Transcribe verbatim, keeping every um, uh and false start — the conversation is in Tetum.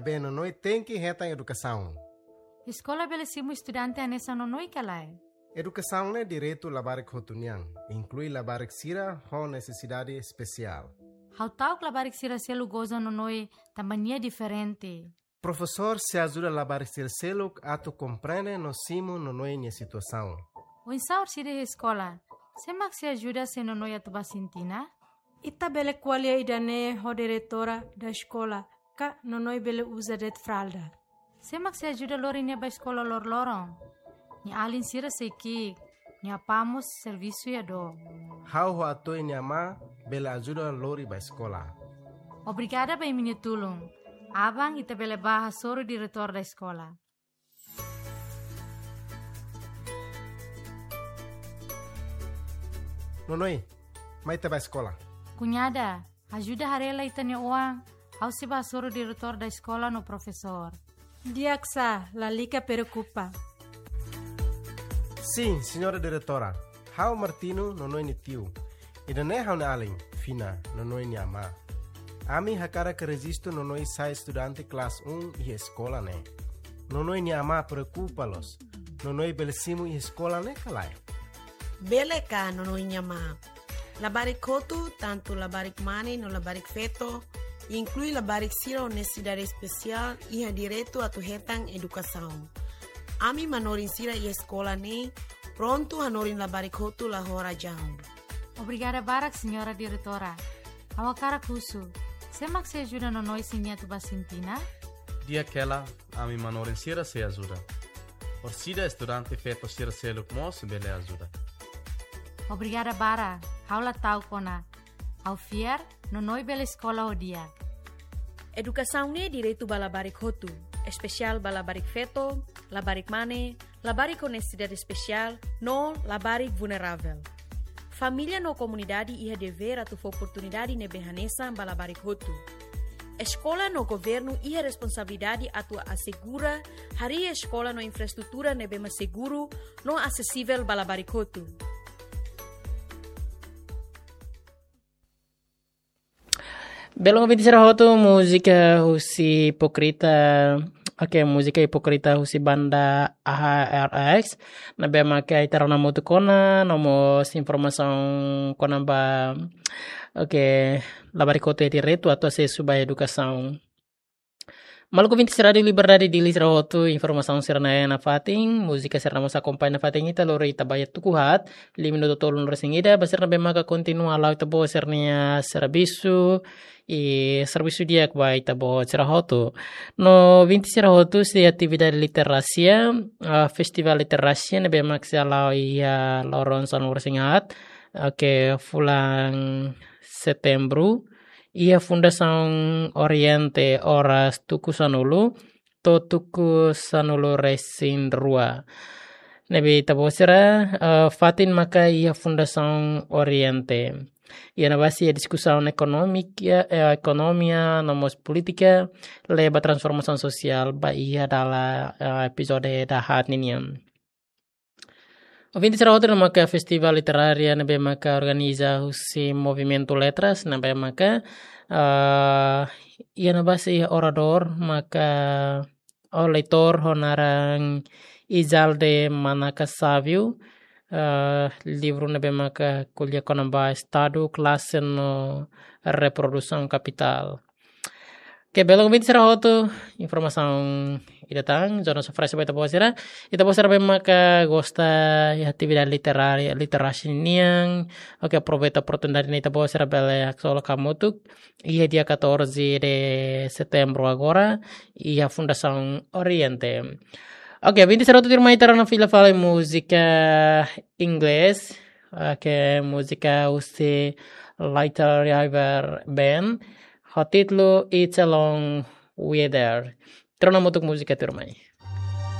Be, Nonoe tenke hetan edukasaun. Eskola bele simu estudante hanesan Nonoe ka lae? Edukasaun ne'e direitu labarik hotu nian, inklui labarik sira ho nesesidade espesiál. Ha'u ta'uk labarik sira seluk goza Nonoe tanba nia diferente. Profesór sei ajuda labarik sira seluk atu komprende no simu Nonoe nia situasaun. Oinsá orsida iha eskola? Sé mak sei ajuda se Nonoe atu bá isin tinan? Ita bele ko'alia ida-ne'e ho diretora da eskola, ka Nonoe bele uza de'it fralda. Sé mak sei ajuda lori nia bá eskola loroloron? Nia alin sira sei ki'ik, nia apá mós servisu iha dook. Ha'u ho Atoe nia amá bele ajuda lori bá eskola. Obrigada ba imi-nia tulun. Aban ita bele bá hasoru diretór da eskola. Nonoe, mai ita bá eskola. Kuñada, ajuda haree lai ita-nia oan, ha'u sei bá hasoru diretór da eskola no profesór. Di'ak sá, lalika preokupa. Sin, señora diretora. Ha'u Martino, Nonoe nia tiu. Ida-ne'e ha'u-nia alin, Fina, Nonoe nia amá. Ami hakarak rejistu Nonoe sai estudante kelas um iha eskola ne'e. Nonoe nia amá preokupa loos. Nonoe bele simu iha eskola ne'e ka lae? Bele ka, Nonoe nia amá. Labarik hotu, tantu labarik mane no labarik feto, inklui labarik sira ho nesesidade espesiál, iha direitu atu hetan edukasaun. Ami manorin sira iha eskola ne'e prontu hanorin labarik hotu la ho razaun. Obrigada barak, señora diretora. Ha'u hakarak husu, sé mak sei ajuda Nonoe se nia atu bá isin tinan? Di'ak hela, ami manorin sira sei ajuda. Orsida estudante feto sira seluk mós bele ajuda. Obrigada barak, ha'u la ta'uk ona. Ha'u fiar, Nonoe bele eskola ho di'ak. Edukasaun ne'e direitu ba labarik hotu, espesiál ba labarik feto, labarik mane, labarik ho nesesidade espesiál, no labarik vulneravel. Família no komunidade iha devér atu fó oportunidade ne'ebé hanesan ba labarik hotu. Eskola no governu iha responsabilidade atu asegura harii eskola no infraestrutura ne'ebé mak seguru no asesivel ba labarik hotu. Belun ouvinte sira hotu, múzika husi Hipócrita, oke, múzika Hipócrita husi banda A H R X, ne'ebé maka ita rona hamutuk ona, no mós informasaun kona-ba, oke, labarik hotu iha direitu atu asesu ba edukasaun. Maluk ouvinte sira Rádiu Liberdade, Dili sira hotu, informasaun sira-ne'e iha nafatin, múzika sira-ne'e mós akompaña nafatin ita lori ita ba iha tuku haat, liu minutu tolunulu-resin-ida, ba sira ne'ebé maka kontinua hala'o ita-boot sira-nia servisu, i servisu di'ak ba ita-boot sira hotu. No ouvinte sira hotu, sei atividade literasia, ah, festivál literasia ne'ebé maka sei hala'o iha loron sanulu-resin-haat, oke, fulan Setembru, iha Fundasaun Oriente oras tuku sanulu to'o tuku sanulu-resin-rua. Ne'ebé ita-boot sira, eh, fatin maka iha Fundasaun Oriente. Iha ne'ebá sei iha diskusaun ekonomik, eh, ekonomia, no mós polítika, leba transformasaun sosiál ba iha dala, eh, epizódiu dahaat ninian. Ouvinte sira hotu, ne'e maka festivál literária ne'ebé maka organiza husi Movimentu Letras, ne'ebé maka, ah, iha ne'ebá sei iha oradór maka, oh, leitór ho naran Izalde Manaka Savio, ah, livru ne'ebé maka ko'alia kona-ba Estadu, Klase no Reprodusaun Kapitál. Oke, belun ouvinte sira hotu, informasaun ida tan, Jonas oferese ba ita-boot sira. Ita-boot sira ne'ebé maka gosta iha atividade literária, literasia nian. Oke, aproveita oportunidade ne'e ita-boot sira bele haksolok hamutuk iha dia catorze de setembro agora, iha Fundasaun Oriente. Oke, ouvinte sira hotu, tuirmai ita rona fila fali múzika inglés. Oke, múzika husi Little River Band ho títulu It's a Long Weather. Ita rona hamutuk múzika tuirmai.